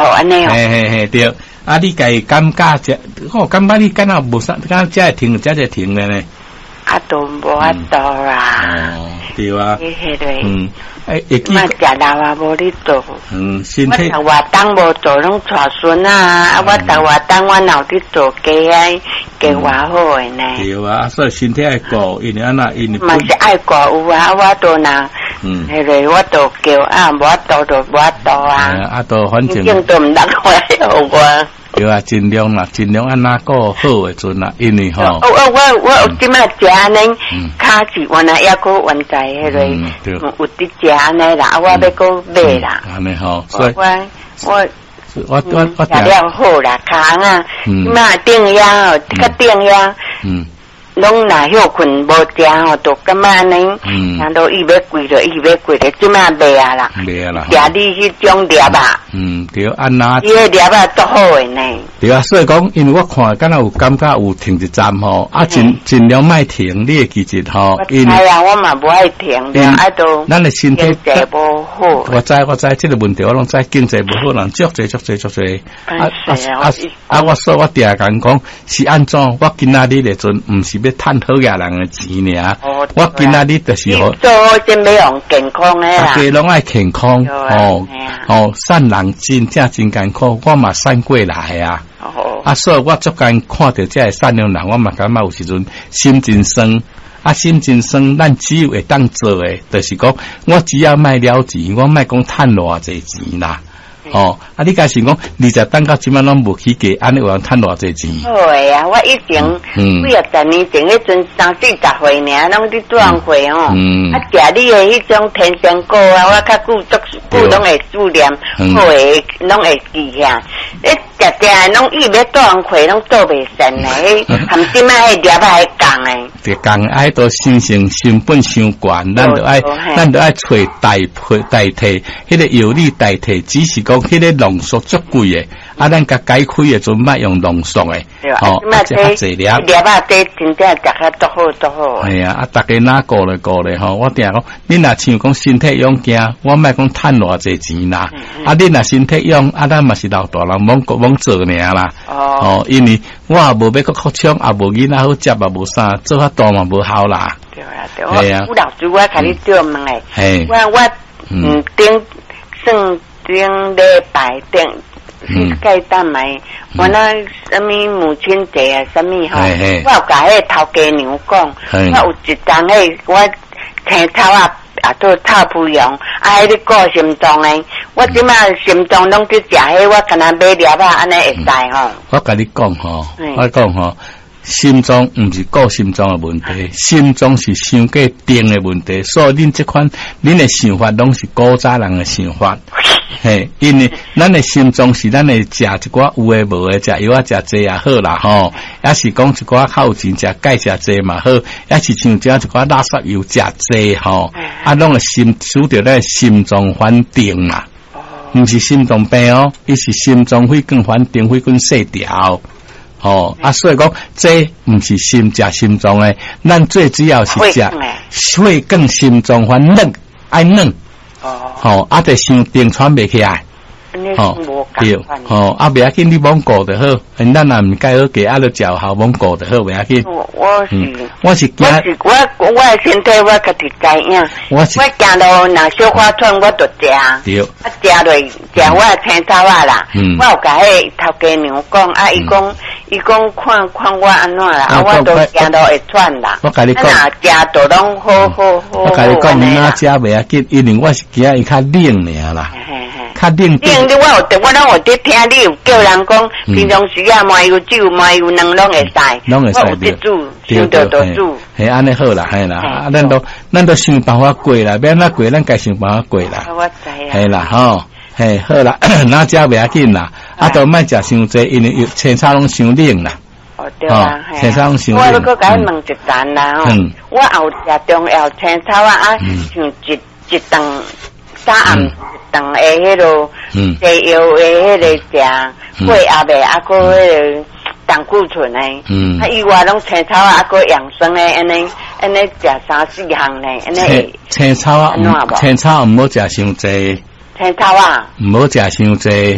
哦，按呢哦。嘿嘿嘿，對。啊，你家己感覺這，我感覺你敢若無啥，敢這會停，這會停的呢？啊，都無法度啦。哦，對啊。彼彼個。欸，會記。嘛食老啊，無咧做。身體。我逐活動無做，攏帶孫仔啊！我逐活動我若有佇做家啊，加偌好的呢。對啊，所以身體愛顧，因為按怎，因為。嘛是愛顧有啊，我都若，彼个我都叫啊，無法度就無法度啊。啊，都反正。都毋得過來予我。對啊，盡量啦，盡量按怎顧好的陣啦，因為吼。哦哦，我我這擺食按呢，跤是原來猶閣原在彼个，有佇食按呢啦，啊，我欲閣買啦。按呢吼，所以我我我我我食了好啦，跤啊，這擺頂遐哦，較頂遐。攏若歇睏無食吼，就感覺按呢，聽到伊欲跪著，伊欲跪著，這擺袂啊啦。袂啊啦。食你彼種粒仔。嗯，對，按那。伊彼粒仔足好的呢。對啊，所以講，因為我看敢若有感覺有停一站吼，啊，盡量莫停，你會記得吼。我知啊，我嘛無愛停，啊都。咱的身體經濟無好。我知我知，這個問題我攏知，經濟無好，人足濟足濟足濟。啊啊啊啊！我所以我定共講是按怎，我今仔日的陣，毋是欲趁好額人的錢爾。我今仔日就是予做好先欲用健康的啦。大家攏愛健康，哦哦，散人真正真艱苦，我嘛散過來啊。啊，所以我足艱看著這个善良人，我嘛感覺有時陣心真酸。啊，心真酸，咱只有會當做的，就是講我只要莫了錢，我莫講趁偌濟錢啦。哦，啊！你敢是講20擔到這擺攏無起價，按呢有人趁偌濟錢？好的啊！我以前幾啊十年前，彼陣三四十歲爾，攏佇做工會吼。啊，食你的彼種天仙果啊，我較久足久攏會思念，好的攏會記起來。你食食攏伊欲做工會攏做袂成的，含這擺彼粒仔會仝的。對，仝愛都生成成本傷懸，咱就愛揣代配代替，彼个藥理代替，只是講彼个濃縮足貴的，啊，咱共解開的陣莫用濃縮的，吼，啊，較濟粒。粒仔這真正食較足好足好。係啊，啊，逐家哪顧咧顧咧吼，我定講，恁若像講身體勇健，我莫講趁偌濟錢啦，啊，恁若身體勇，啊，咱嘛是老大人，罔顧罔做爾啦。哦，因為我也無欲閣擴充，也無囡仔好接，也無啥，做較大嘛無效啦。對啊，對啊。我老師，我共你借問的，我頂算頂禮拜頂，蓋當買，我那啥物母親節啊，啥物吼，我有共彼頭家娘講，我有一冬彼我青草仔啊，做臭肥羊，啊，彼咧顧心臟的，我這擺心臟攏佇食彼，我敢若買粒仔按呢會使吼。我共你講吼，我講吼，心臟毋是顧心臟的問題，心臟是傷過定的問題，所以恁這款恁的想法攏是古早人的想法。嘿，因為咱的心臟是咱會食一寡有的無的，食藥仔食濟也好啦吼，抑是講一寡較有錢食鈣食濟嘛好，抑是像這一寡垃圾油食濟吼，啊，攏會心使著咱心臟反定啦，毋是心臟病哦，伊是心臟血管反定，血管細條。吼，啊，所以講這毋是心食心臟的，咱最主要是食血管心臟反軟，愛軟。吼，啊，就傷定喘袂起來。吼，對，吼，啊，袂要緊，你罔顧就好。咱若毋介好加，啊，就食有效罔顧就好，袂要緊。我是，我是驚，我是我我的身體我家己知影。我是我行路若小可喘，我就食。啊，食落食我的青草仔啦。我有共彼頭家娘講，啊，伊講看看我按怎啦，啊，我都行路會喘啦。我共你講，食都攏好好好。我共你講，哪食袂要緊，因為我是驚伊較冷爾啦。較冷。冷，你我有，我攏有佇聽你有叫人講，平常時啊，麻油酒、麻油卵攏會使。攏會使。我有佇煮，想著就煮。嘿，按呢好啦，嘿啦，啊，咱都想辦法過啦，欲按怎過，咱家想辦法過啦。我知啊。嘿啦，吼，嘿，好啦，哪食袂要緊啦，啊，都莫食傷濟，因為青草攏傷冷啦。哦，對啊，青草攏傷冷。我閣共你問一層啦，吼，我後食中藥青草仔啊，像一一頓早暗一頓的彼囉西藥的彼个食血壓的，啊，閣彼个膽固醇的，啊，以外攏青草仔，啊，閣養生的，按呢按呢食三四項呢，按呢會青草仔，青草毋好食傷濟。青草仔。毋好食傷濟。